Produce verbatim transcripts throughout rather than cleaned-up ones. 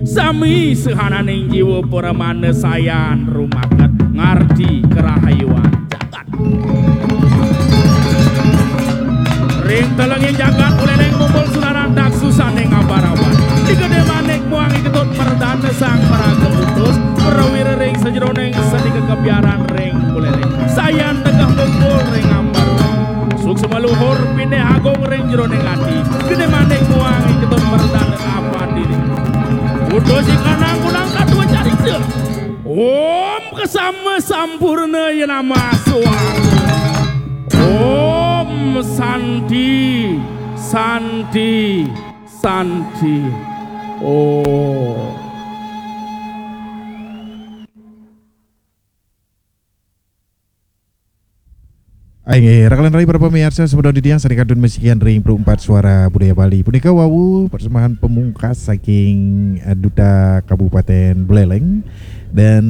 Sami sehananing jiwa pramana sayan rumaket ngarti karahayuan jagat. Ring telenging jagat Buleleng mumbul sunaran daksusaning abarawan. Di gedé manik muang iketut merdana sang maraga putus, prawira ring sajeroning sandika kebiaran ring Buleleng. Sayan tegeh mumbul ring ambar. Suksma luhur pinih agung ring jeroning ati. Gedé manik muang iketut merdana apa diri. Putus ikanang kunang katua carita. Om kesama sampurna ya nama suang. Om Santi, Santi, Santi. Om. Inggih, raka lan rai para pamiarsa, semeton titiang sane kantun masikian ring Pro Empat Suara Budaya Bali. Punika wau persembahan pamungkas saking, eh, Duta Kabupaten Buleleng dan,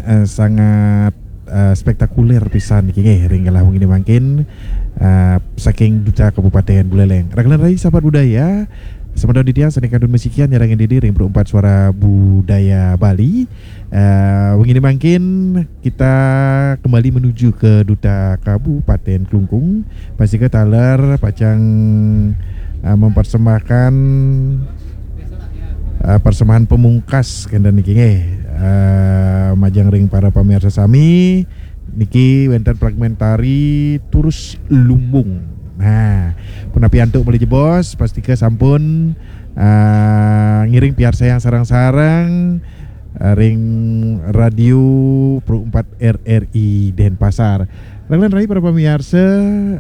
eh, sangat, eh, spektakuler pisan niki nggih ring galah wengi mangkin, eh, saking Duta Kabupaten Buleleng. Raka lan rai sahabat budaya, semeton titiang sane kantun masikian nyarengin diri ring Pro Empat Suara Budaya Bali. Eh, wengi mangkin kita kembali menuju ke Duta Kabupaten Klungkung. Pastika taler pacang, eh, mempersembahkan, eh, persembahan pamungkas kenten niki nggih. Eh, majeng ring para pamiarsa sami, niki wenten fragmentari Turus Lumbung. Nah, punapi antuk malih jebos, pastika sampun, eh, ngiring piarsayang sareng-sareng, eh, ring Radio Pro Empat R R I Denpasar. Raka lan rai para pamiarsa,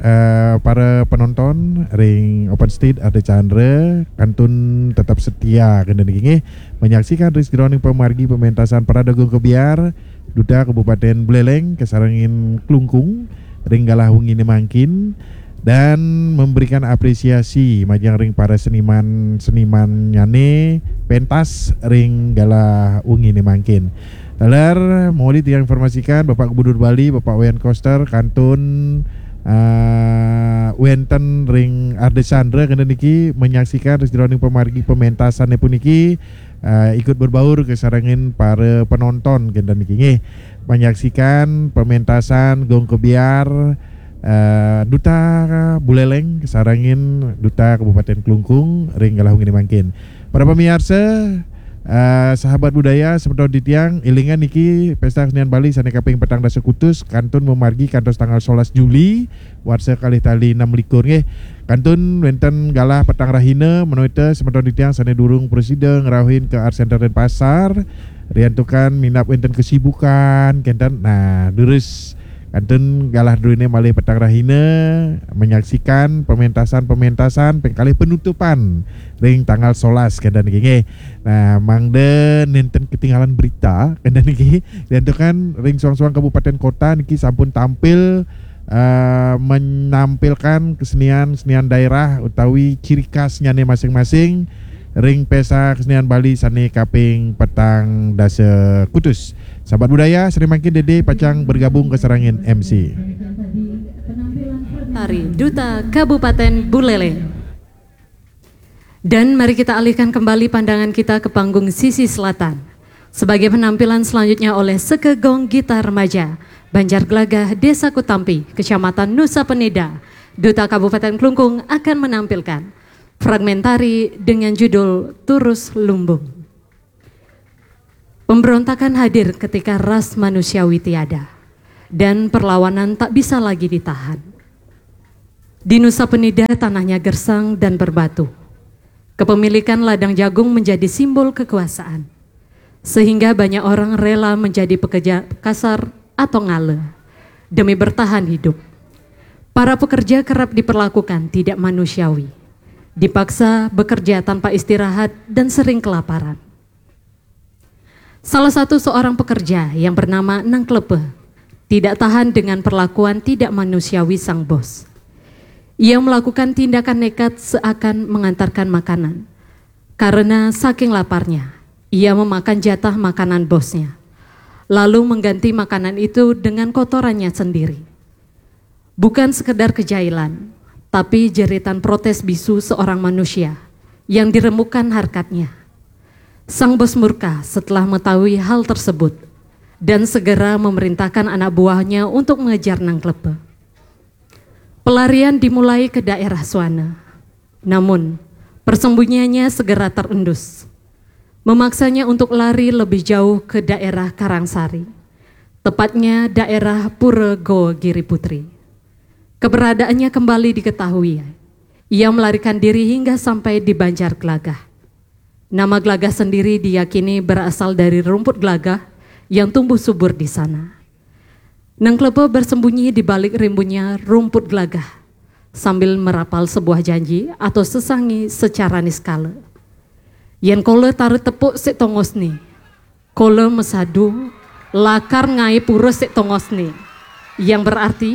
eh, para penonton ring Open Stage Ardha Candra kantun tetap setia kenten niki nggih menyaksikan ring sajeroning pamargi pementasan Parade Agung Kebyar Duta Kabupaten Buleleng kasarengin Klungkung ring galah wengi mangkin dan memberikan apresiasi majeng ring para seniman-senimannyane pentas ring galah wengi mangkin. Taler, muli tiang informasikan Bapak Gubernur Bali, Bapak Wayan Koster, kantun, eh, wenten ring Ardha Candra kenten niki menyaksikan ring sajeroning pamargi pementasane puniki, eh, ikut berbaur kasarengin para penonton kenten niki nggih. Menyaksikan pementasan Gong Kebyar, eh, Duta Buleleng kasarengin Duta Kabupaten Klungkung ring galah wengi mangkin. Para pamiarsa, eh, sahabat budaya, semeton titiang, elingan niki Pesta Kesenian Bali sane kaping petang dasa kutus kantun mamargi kantos tanggal solas Juli, warsa kalih tali enam likur nggih. Kantun wenten galah petang rahina, menawi ta semeton titiang sane durung prasida ngrauhin ke Art Center Denpasar, riantukan minab wenten kesibukan, kenten. Nah, durus kantun galah druene malih petang rahina menyaksikan pementasan-pementasan ping kalih penutupan ring tanggal solas kenten niki nggih. Nah, mangda nenten ketinggalan berita kenten niki. Riantukan ring suang-suang kabupaten kota niki sampun tampil, eh, menampilkan kesenian-kesenian daerah utawi ciri khasnyane masing-masing ring Pesta Kesenian Bali sane kaping petang dasa kutus. Sahabat budaya, sane mangkin dede pacang bergabung kasarengin M C. Tari Duta Kabupaten Buleleng. Dan mari kita alihkan kembali pandangan kita ke panggung sisi selatan. Sebagai penampilan selanjutnya oleh Seke Gong Gitar Remaja, Banjar Gelagah, Desa Kutampi, Kecamatan Nusa Penida, Duta Kabupaten Klungkung akan menampilkan fragmentari dengan judul Turus Lumbung. Pemberontakan hadir ketika ras manusiawi tiada, dan perlawanan tak bisa lagi ditahan. Di Nusa Penida tanahnya gersang dan berbatu. Kepemilikan ladang jagung menjadi simbol kekuasaan, sehingga banyak orang rela menjadi pekerja kasar atau ngala demi bertahan hidup. Para pekerja kerap diperlakukan tidak manusiawi, dipaksa bekerja tanpa istirahat dan sering kelaparan. Salah satu seorang pekerja yang bernama Nang Klepe tidak tahan dengan perlakuan tidak manusiawi sang bos. Ia melakukan tindakan nekat seakan mengantarkan makanan. Karena saking laparnya, ia memakan jatah makanan bosnya, lalu mengganti makanan itu dengan kotorannya sendiri. Bukan sekedar kejailan, tapi jeritan protes bisu seorang manusia yang diremukkan harkatnya. Sang bos murka setelah mengetahui hal tersebut dan segera memerintahkan anak buahnya untuk mengejar Nang Klepe. Pelarian dimulai ke daerah Suana. Namun, persembunyiannya segera terendus, memaksanya untuk lari lebih jauh ke daerah Karangsari, tepatnya daerah Pura Goa Giri Putri. Keberadaannya kembali diketahui. Ia melarikan diri hingga sampai di Banjar Gelagah. Nama Gelagah sendiri diyakini berasal dari rumput gelagah yang tumbuh subur di sana. Nang Klepe bersembunyi di balik rimbunnya rumput gelagah sambil merapal sebuah janji atau sesangi secara niskala. Yen kala taruh tepuk sik tongosne, kala mesadu lakar ngae pura sik tongosne. Yang berarti,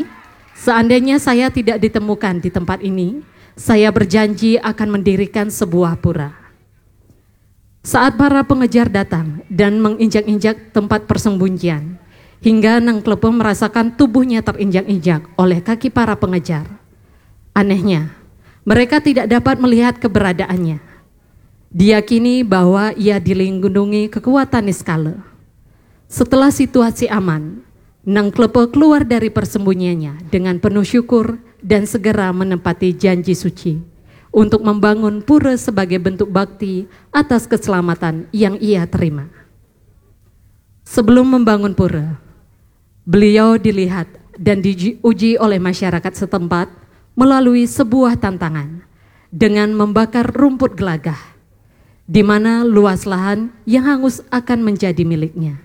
seandainya saya tidak ditemukan di tempat ini, saya berjanji akan mendirikan sebuah pura. Saat para pengejar datang dan menginjak-injak tempat persembunyian, hingga Nang Klepe merasakan tubuhnya terinjak-injak oleh kaki para pengejar. Anehnya, mereka tidak dapat melihat keberadaannya. Diyakini bahwa ia dilindungi kekuatan niskala. Setelah situasi aman, Nang Klepe keluar dari persembunyiannya dengan penuh syukur dan segera menempati janji suci untuk membangun pura sebagai bentuk bakti atas keselamatan yang ia terima. Sebelum membangun pura, beliau dilihat dan diuji oleh masyarakat setempat melalui sebuah tantangan dengan membakar rumput gelagah, di mana luas lahan yang hangus akan menjadi miliknya.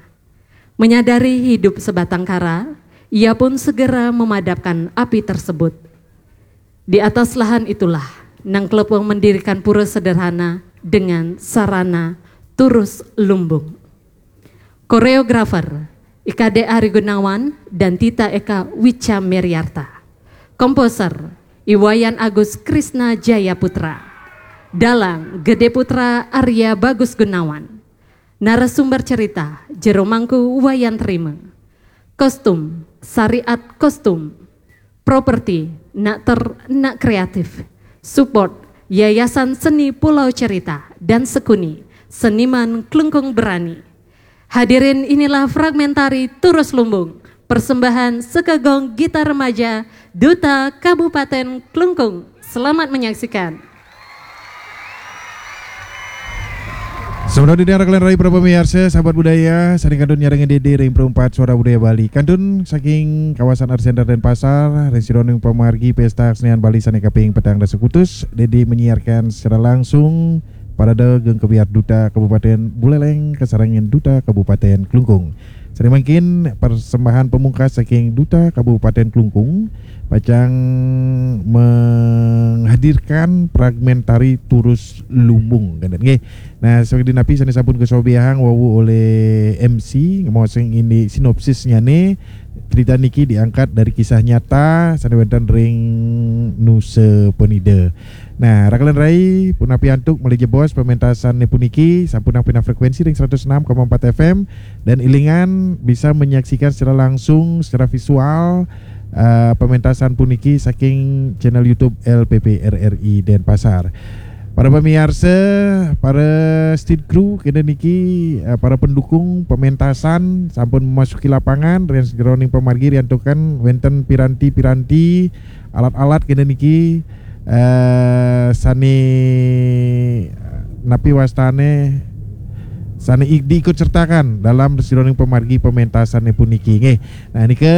Menyadari hidup sebatang kara, ia pun segera memadamkan api tersebut. Di atas lahan itulah, Nang Klepe mendirikan pura sederhana dengan sarana turus lumbung. Koreografer, I K D Ari Gunawan dan Tita Eka Wica Meriarta. Komposer, I Wayan Agus Krisna Jaya Putra. Dalang, Gede Putra Arya Bagus Gunawan. Narasumber cerita, Jero Mangku Wayan Trime. Kostum, Sariat Kostum. Properti, Nak Ter, Nak Kreatif. Support, Yayasan Seni Pulau Cerita dan Sekuni, Seniman Klungkung Berani. Hadirin, inilah fragmentari Turus Lumbung, persembahan Sekagong Gitar Remaja, Duta Kabupaten Klungkung. Selamat menyaksikan. Sampun didengar kalian rai para pemirsa, sahabat budaya, sane kantun nyarengin dede ring perempat suara budaya Bali. Kantun saking kawasan Art Center Denpasar, ring sajeroning pamargi Pesta Kesenian Bali sane kaping petang dasa kutus, dede menyiarkan secara langsung parade geng kebyar Duta Kabupaten Buleleng kasarengin Duta Kabupaten Klungkung. Sane mangkin persembahan pamungkas saking Duta Kabupaten Klungkung pacang menghadirkan fragmentari Turus Lumbung, kan, nggih. Nah, saking napi sane sampun kasobiahang wau olih M C, ngemaosang indik sinopsisnyane, cerita niki diangkat dari kisah nyata sane wenten ring Nusa Penida. Nah, rakelan rai, punapi antuk malih jebos pamentasanne puniki, sampun nampina frekuensi ring seratus enam koma empat F M, dan ilingan bisa menyaksikan secara langsung, secara visual, eh, pamentasan puniki saking channel YouTube L P P R R I Denpasar. Para pamiarsa, para stage crew kene niki, eh, para pendukung pamentasan sampun memasuki lapangan, ring sajeroning pamargi riantukan wenten piranti-piranti, alat-alat kene niki, eh, sane, napi wastane, sane i-, diikut sertakan dalam sajeroning pamargi pamentasanne puniki, nggih. Nah, nika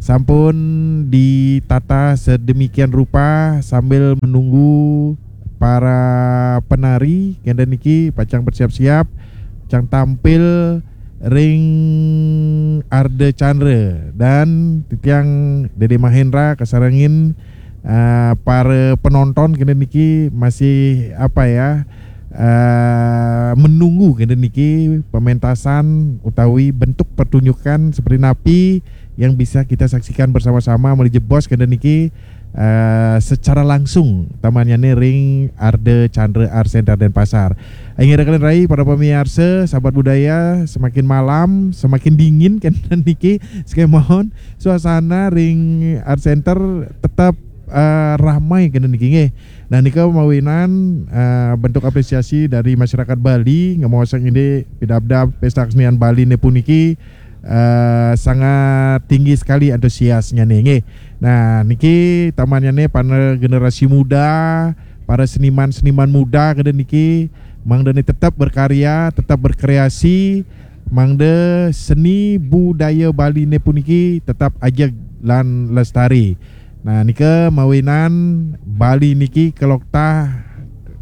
sampun ditata sedemikian rupa sambil menunggu para penari kene niki pacang bersiap-siap, pacang tampil ring Arda Chandra, dan titiang Dede Mahendra kasarengin, eh, para penonton kene niki masih, apa ya, eh, menunggu kene niki pementasan utawi bentuk pertunjukan seperti napi yang bisa kita saksikan bersama-sama malih jebos kene niki, eh, secara langsung tamannyane ring Arda Chandra Art Center Denpasar. Inggih rakelan rai, para pamiarsa, sahabat budaya, semakin malam, semakin dingin kene niki, sekemawon suasana ring Art Center tetap, eh, ramai kene niki, nggih. Nah, nika mawinan, eh, bentuk apresiasi dari masyarakat Bali, ngemaosang indik pidabdab Pesta Kesenian Bali ne puniki, eh, sangat tinggi sekali antusiasnya ne, nggih. Nah, niki tamannya ne para generasi muda, para seniman-seniman muda kene niki, mangda ne tetap berkarya, tetap berkreasi, mangda seni budaya Bali ne puniki tetap ajeg lan lestari. Nah, nika mawinan Bali niki keloktah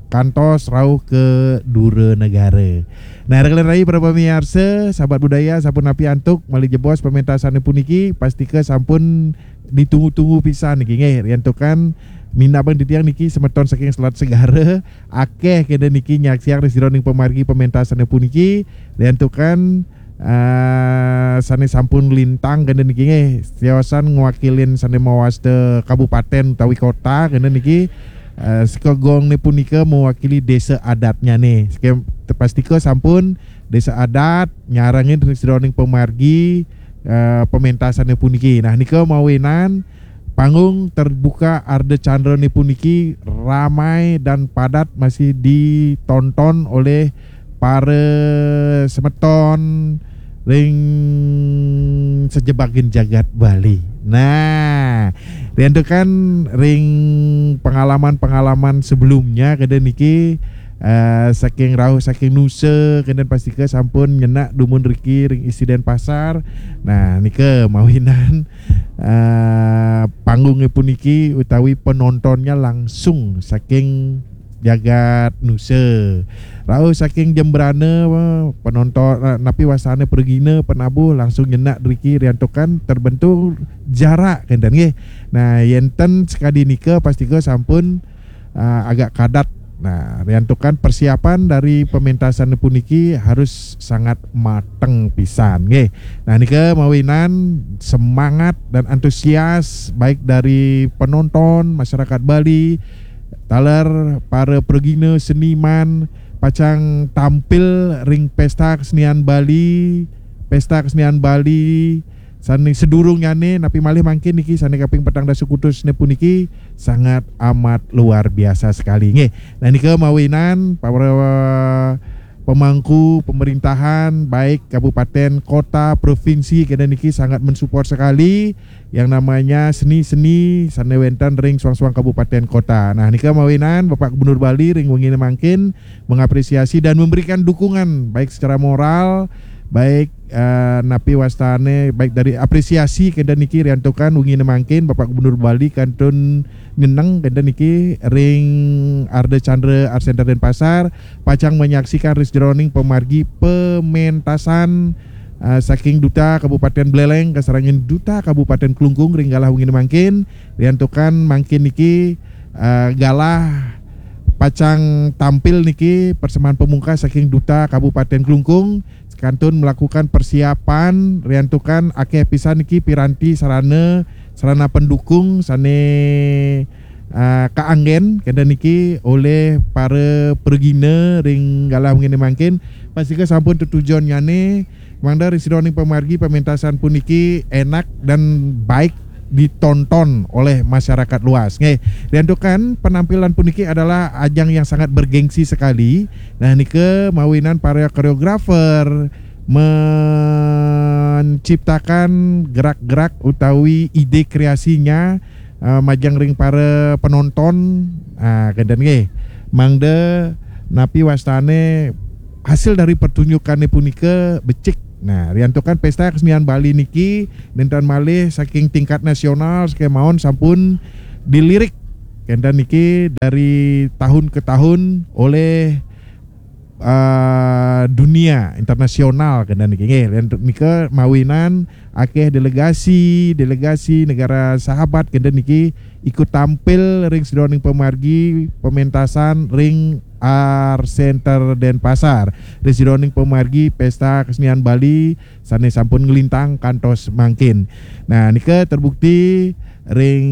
kantos rauh ke dura negara. Nah, rekan rai para pamiarsa, sahabat budaya, sampun napi antuk malih jebos pementasan puniki, pastika sampun ditunggu-tunggu pisan niki nggih. Riantukan minabang titiang niki semeton saking Selat Segara, akeh kene niki nyaksiang ring sajeroning pamargi pementasan puniki, riantukan eh, sane sampun lintang kene niki nggih, tiosan ngwakilin sane mawasta kabupaten utawi kota kene niki, eh, sekegong ne punika mewakili desa adatnya ne. Seke-, tepastika sampun desa adat nyarengin ring sajeroning pamargi, eh, pementasan puniki. Nah, nika mawinan panggung terbuka Ardha Candra ne puniki ramai dan padat masih ditonton oleh para semeton ring sejebakin jagat Bali. Nah, riantukan ring pengalaman-pengalaman sebelumnya kene niki, eh, saking rauh saking nusa kene pastika sampun nyenak dumun riki ring Istri Denpasar. Nah, nika mawinan, eh, panggung puniki utawi penontonnya langsung saking jagat nusa. Rauh saking Jembrana, penonton, eh, napi wastane pragina penabuh langsung nyenak driki riantukan terbentuk jarak kenten nggih. Nah, yen ten sekadi nika pastika sampun, eh, agak kadat. Nah, riantukan persiapan dari pementasan puniki harus sangat mateng pisan nggih. Nah, nika mawinan semangat dan antusias baik dari penonton, masyarakat Bali, taler para pragina seniman pacang tampil ring Pesta Kesenian Bali, Pesta Kesenian Bali sane sedurungnyane napi malih mangkin niki sane kaping petang dasa kutus ne puniki sangat amat luar biasa sekali nggih. Nah, nika mawinan para pemangku pemerintahan baik kabupaten, kota, provinsi kene niki sangat mensupport sekali yang namanya seni-seni sane wenten ring suang-suang kabupaten kota. Nah, nika mawinan Bapak Gubernur Bali ring wengine mangkin mengapresiasi dan memberikan dukungan baik secara moral, baik, eh, napi wastane, baik dari apresiasi kenten niki riantukan wengine mangkin Bapak Gubernur Bali kantun nyeneng kenten niki ring Ardha Candra Art Center Denpasar pacang menyaksikan ring sajeroning pamargi pementasan, eh, saking Duta Kabupaten Buleleng kasarengin Duta Kabupaten Klungkung ring galah wengine mangkin. Riantukan mangkin niki, eh, galah pacang tampil niki persembahan pamungkas saking Duta Kabupaten Klungkung kantun melakukan persiapan riantukan akeh pisan niki piranti sarana, sarana pendukung sane, eh, kaanggen kenten niki oleh para pragina ring galah wengine mangkin. Pastika sampun tetujonnyane mangda ring sajeroning pamargi pementasan puniki enak dan baik ditonton oleh masyarakat luas. Nggih, riantukan penampilan puniki adalah ajang yang sangat bergengsi sekali. Nah, nika mawinan para koreografer menciptakan gerak-gerak utawi ide kreasinya, eh, majeng ring para penonton, ah, kenten nggih. Mangda napi wastane hasil dari pertunjukane punika becik. Nah, riantukan Pesta Kesenian Bali niki nenten malih saking tingkat nasional, sekemaon sampun dilirik kenten niki dari tahun ke tahun oleh, eh, dunia internasional kenten niki nggih. Riantuk nika mawinan akeh delegasi, delegasi negara sahabat kenten niki ikut tampil ring sajeroning pamargi pementasan ring Art Center Denpasar. Ring sajeroning pamargi Pesta Kesenian Bali sane sampun nglintang kantos mangkin. Nah, nika terbukti ring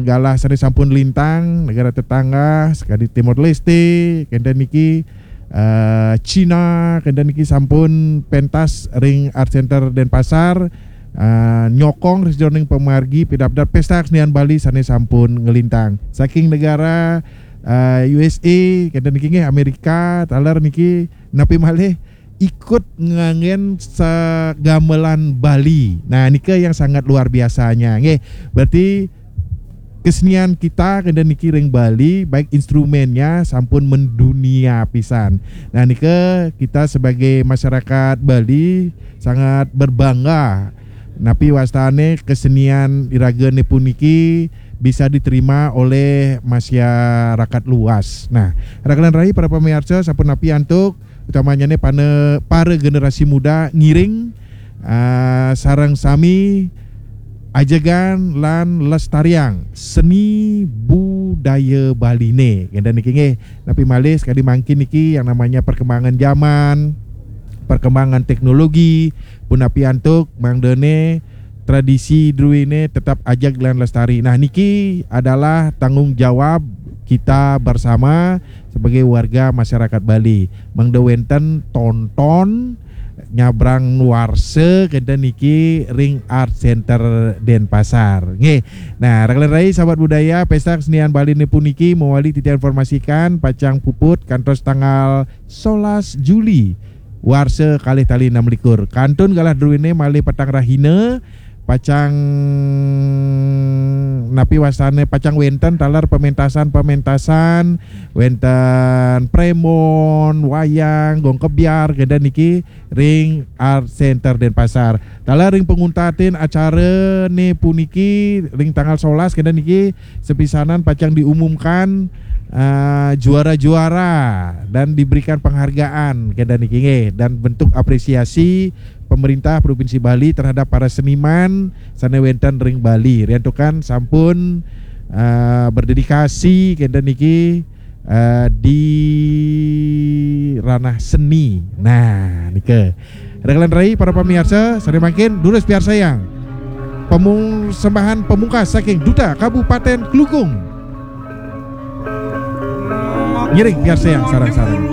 galah sane sampun lintang, negara tetangga, sekadi Timor Leste, kenten niki, eh, Cina, kenten niki sampun pentas ring Art Center Denpasar, eh, nyokong ring sajeroning pamargi pidabdab Pesta Kesenian Bali sane sampun nglintang. Saking negara eh, U S A, kenten niki nggih, Amerika, taler niki, napi malih ikut nganggen sagamelan Bali. Nah, nika yang sangat luar biasanya, nggih. Berarti kesenian kita kenten niki ring Bali, baik instrumennya sampun mendunia pisan. Nah, nika kita sebagai masyarakat Bali sangat berbangga napi wastane kesenian iragane puniki bisa diterima oleh masyarakat luas. Nah, raka lan rai para pamiarsa, sapunapi antuk utamanyane pana-, para generasi muda ngiring, ah, sareng sami ajegan lan lestariang seni budaya Baline. Kenten niki nggih, napi malih sekadi mangkin niki yang namanya perkembangan zaman, perkembangan teknologi, punapi antuk mangdane tradisi druene tetap ajeg lan lestari. Nah, niki adalah tanggung jawab kita bersama sebagai warga masyarakat Bali. Mangda wenten tonton nyabrang warsa kenten niki ring Art Center Denpasar. Nggih. Nah, raka lan rai sahabat budaya, Pesta Kesenian Bali ne puniki mawali titiang informasikan pacang puput kantos tanggal solas Juli warsa kalih tali enam likur. Kantun galah druene malih petang rahina, pacang napi wastane, pacang wenten taler pementasan-pementasan, wenten premon, wayang, gong kebyar, kenten niki ring Art Center Denpasar. Taler ring panguntatin acarane puniki ring tanggal solas kenten niki sepisanan pacang diumumkan, eh, juara-juara dan diberikan penghargaan kenten niki nggih, dan bentuk apresiasi pemerintah Provinsi Bali terhadap para seniman sane wenten ring Bali. Riantukan sampun, eh, berdedikasi kenten niki, eh, di ranah seni. Nah, nika. Raka lan rai para pamiarsa, sane mangkin durus piarsayang pamung-, sembahan pamungkas saking Duta Kabupaten Klungkung. Ngiring piarsayang sareng-sareng.